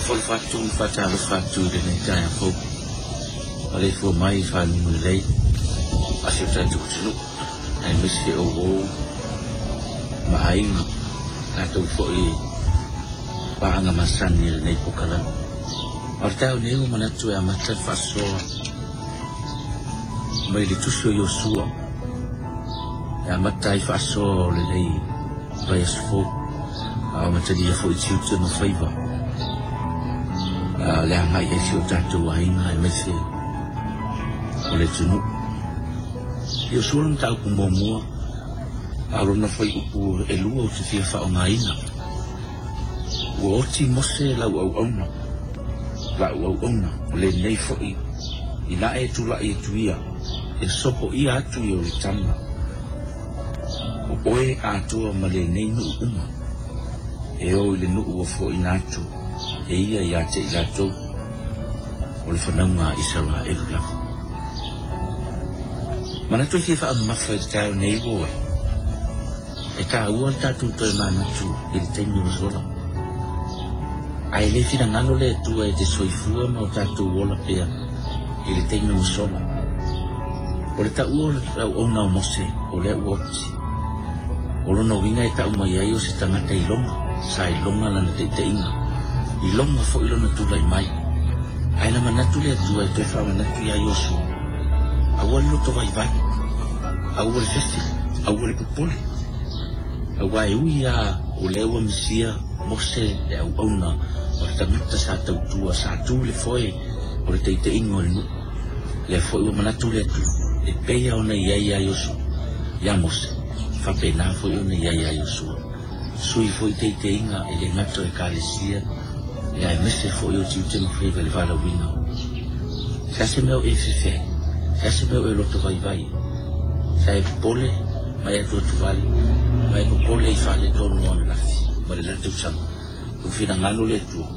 Faatalofa atu ma faatalofa atu i lenei taeao fou. Maleifua mai i faguga lelei a si o tatou atunuu, aemaise o uo ma aiga, tatou foi paaga masani i lenei polokalame. A o le taeao nei ua manatu e amata le faasoa mai le tusi o Iosua e amata ai faasoa o lenei vaiaso fou, a o amatalia foi tiute ma faiva le agai ai si o tatou aiga aemaise o le atunuu. Iosua le mataupu muamua, a o lona fuaiupu 2 ou te fia faaaogaina. Ua oti Mose lau auauna, lau auauna, o lenei foi, ina e tulai atu ia, e sopoia atu i Ioritana, o oe atoa ma lenei nuu uma, e o i le nuu ua foaina atu e ia ia te i latou, o le fanauga a Isaraelu lava. Manatu e fia faamamafa i le taeao nei ua oe, e taua le tatou toe manatu i le taimi ua sola. Ae le finagalo le Atua e te soifua ma o tatou ola pea i le taimi ua sola. O le taua o le auauna o Mose, o lea ua oti. O lona uiga e tau mai ai o se tagata iloga, sa iloga lana taitaiga, iloga foi lona tulai mai. Ae na manatu le Atua e toe faamanatu ia Iosua, aua le loto vaivai, aua le fefe, aua le popole. Aua e ui lava o lea ua misia Mose le auauna o le tagata sa tautua, sa tu i le foe o le taitaiga o le nuu, lea foi ua manatu le Atua, e pei lava ona i ai ia Iosua, ia Mose, faapena foi ona i ai ia Iosua. Sui foi taitaiga e le gata o Ekalesia, ia aemaise foi o tiute ma faiva i le valaauina. Se a se mea o e fefe ai? Se a se mea o e loto vaivai ai? Sa e popole ma e atuatuvale, ma e popole i faaletonu o ananafi ma le la tausaga. Ua finagalo le Atua.